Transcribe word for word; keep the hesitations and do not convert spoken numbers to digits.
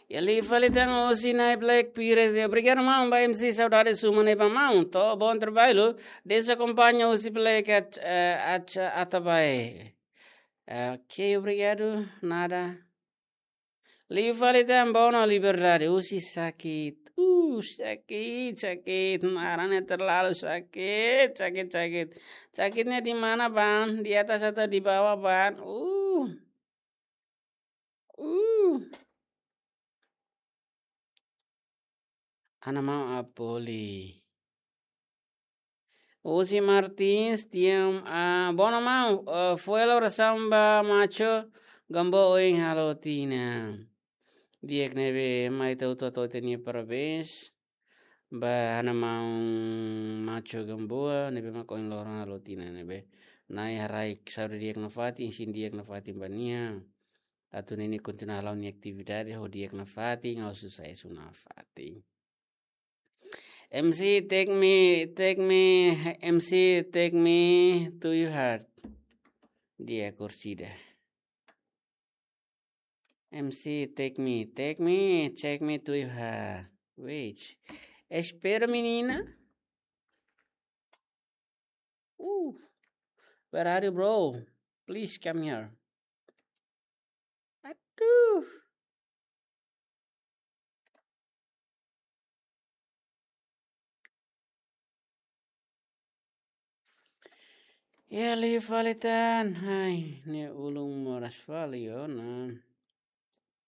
Iha liu fali tan husi Nai Black Pires. Obrigadu maun ba M C, saudades uma ne'ebá maun. To'o, bom trabalho. Deus akompaña husi Black at, eh, at, Atabae. Ok, obrigadu. Nada. Liu fali tan Bono Liberdade. Husi Sakit. Uh, sakit, sakit. Naran ne'e terlalu sakit, sakit, sakit. Sakitnya di mana, Bang? Di atas atau di bawah, Bang? Uh. Uh. Ana maun Apoli. Husi Martins, tiam, ah, Bono maun, eh, foin loron samba Macho Gamboa ohin halo tinan. Di'ak ne'ebé mai tau toto tenia parabéns. Ba ana maun Macho Gamboa, ne'ebé mak ohin loron halo tinan ne'ebé. Nai haraik saúde di'ak nafatin, isin di'ak nafatin ba nia. Atu nune'e kontinua hala'o nia atividade ho di'ak nafatin, ho susesu nafatin. M C, take me, take me, M C, take me to your heart. Di'ak, kursida. M C, take me, take me, take me to your heart. Wait. Espera, menina. Uh, where are you, bro? Please come here. Aduh. Iha liu fali tan, ai, ne'e ulun moras fali ona.